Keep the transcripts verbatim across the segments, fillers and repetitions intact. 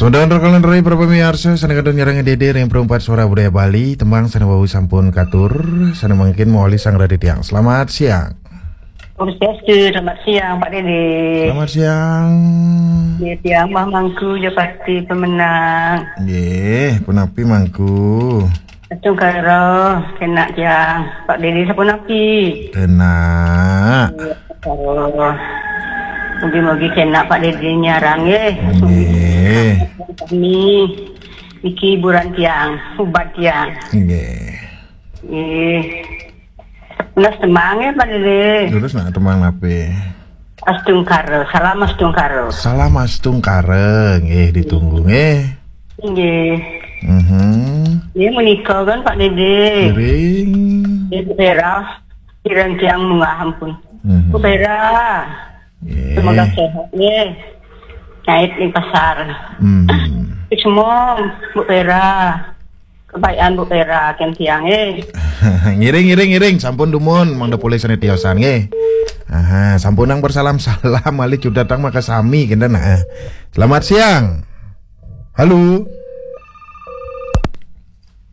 Tuan-tuan, rekan rai para pamiarsa, sané kantun nyarengin Dédé ring Perumpat Suara Budaya Bali, tembang sané wau sampun katur, sané mangkin mawali sareng titiang. Selamat siang. Om Swastiastu, selamat siang, Pak Dédé. Selamat siang. Nggih, tiang Mbah Mangku, ya pasti pemenang. Nggih, punapi Mangku? Astungkara, kénak tiang. Pak Dédé sapunapi? Kénak. Oh. Mugi-mugi kénak Pak Dédé nyarengin. Nggih. Kami niki hiburan tiang, ubat tiang. Nggih. Nggih. Nunas tembang ya, Pak Dédé. Terus nak tembang napi? Astungkara, salam astungkara. Salam astungkara, nggih, ditunggu nggih. Nggih. Mhm. Nggih, menika kan, Pak Dédé. Ngiring. Nggih, Bu Vera. Kirang tiang munggah ampun. Mhm. Bu Vera. Nggih. Semoga sehat nggih. Ngait ning pasar. Mhm. Semua, Bu Vera. Kebayan Bu Vera kén tiang, eh. Ngiring, ngiring, ngiring. Sampun dumun, mangda polih sané tiosan, nggih. Aha, sampunang bersalam-salam, malih cudatang makasami, kénten, nah. Selamat siang. Halo.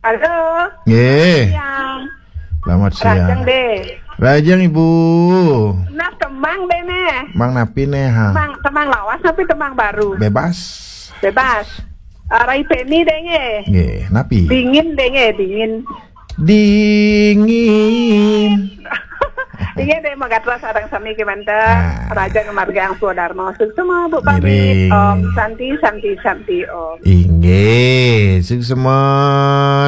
Halo. Nggih. Siang. Selamat siang. Rajeng, Dé. Rajeng, Ibu. Nah, tembang, Dé, né. Mang napi né, ha? Tembang, tembang lawas tapi tembang baru? Bebas. Bebas. Ah, Rai Peni, Dé, nggih. Nggih, napi? Dingin, Dé, nggih, dingin. Dingin. Inggih, Dé, magatra sareng sami kémanten. Ah. Rajeng ngamargiang swadarma. Suksma, Bu, pamit. Ngiring. Om Santi, Santi, Santi, Om. Inggih, suksma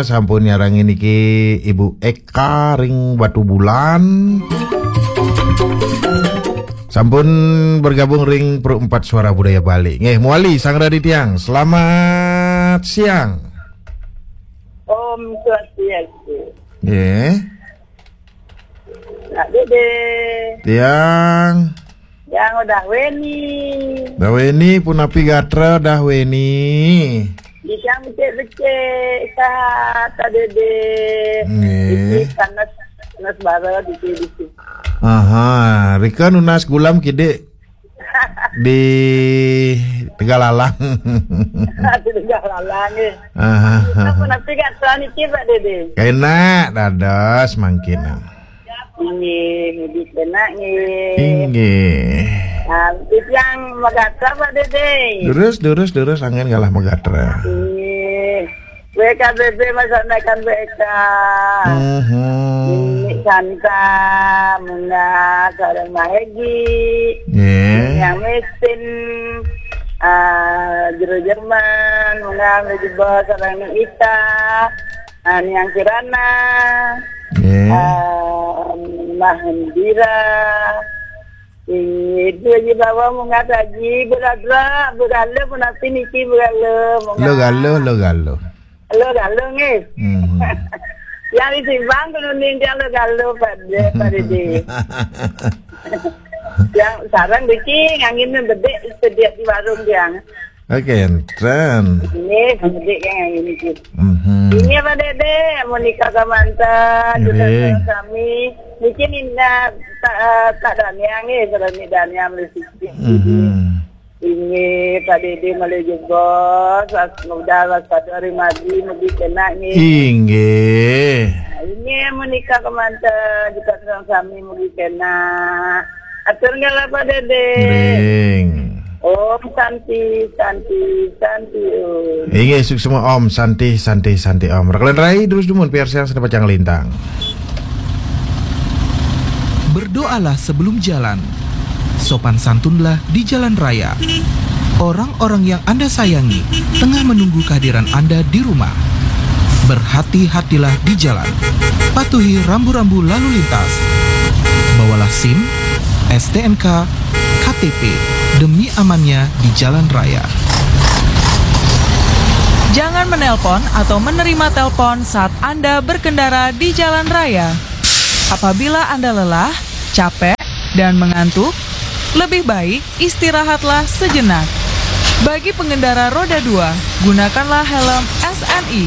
sampun nyarengin niki Ibu Eka ring Batubulan. Sampun bergabung ring Perumpat Suara Budaya Bali. Nggih, mawali sareng titiang. Selamat siang. Om Swastiastu. Nggih. Pak Dédé. Tiang. Tiang Udah Weni. Udah Weni, punapi gatra Udah Weni? Tiang becik-becik, sahat, Pak Dédé. Nggih. Iki sanés, sanés bara dikit-dikit. Aha, rika nunas gulam kidik di Tegalalang. Di Tegalalang, nggih. Aha. Napa napi gatra niki, Pak Dédé? Kénak dados mangkin. Inggih, mugi kénak, nggih. Inggih. Nah, tiang magatra, Pak Dédé. Durus, durus, durus, anggén galah magatra. Nggih. W K B B, masakan W K. Mhm. Nini Santa, Muna, sareng Mahegi. Nggih. Yang Mesin, ah, Jero Jerman, Muna, Mejebos, sareng Ita. Ah, Niang Kirana. Nggih. Ah, Mbah Hendira. Inggih, Haji Bawa munggah Haji, Bu Gadra, Bu Galuh, punapi niki Bu Galuh, munggah. Lo Galuh, Lo Galuh. Lo Galuh, nggih. Mhm. Yang di Simpang kudu ninjal Lo Galuh, Pak, Pak Dédé. Yang sareng niki nganggén bedik sediak di warung tiang. Oke, enten. Nggih, bedik yang ini niki. Mhm. Inggih, Pak Dédé, Monika Kamanta, juga Nggih. Sareng sami. Niki Nina, tak, tak Dania nggih, sareng Dania mesti. Mhm. Inggih, Pak Dédé malih jebos, was-, mudah waspada ring margi, mugi kénak nggih. Inggih. Inggih, Monika Kamanta, juga sareng sami mugi kénak. Atur galah, Pak Dédé. Ngiring. Om Santi, Santi, Santi, Om. Inggih, suksma Om Santi, Santi, Santi Om. Rekan rai, terus dumun piarsayang sané pacang lintang. Berdoalah sebelum jalan. Sopan santunlah di jalan raya. Orang-orang yang Anda sayangi tengah menunggu kehadiran Anda di rumah. Berhati-hatilah di jalan. Patuhi rambu-rambu lalu lintas. Bawalah sim, S T N K, K T P demi amannya di jalan raya. Jangan menelpon atau menerima telepon saat Anda berkendara di jalan raya. Apabila Anda lelah, capek, dan mengantuk, lebih baik istirahatlah sejenak. Bagi pengendara roda dua, gunakanlah helm S N I.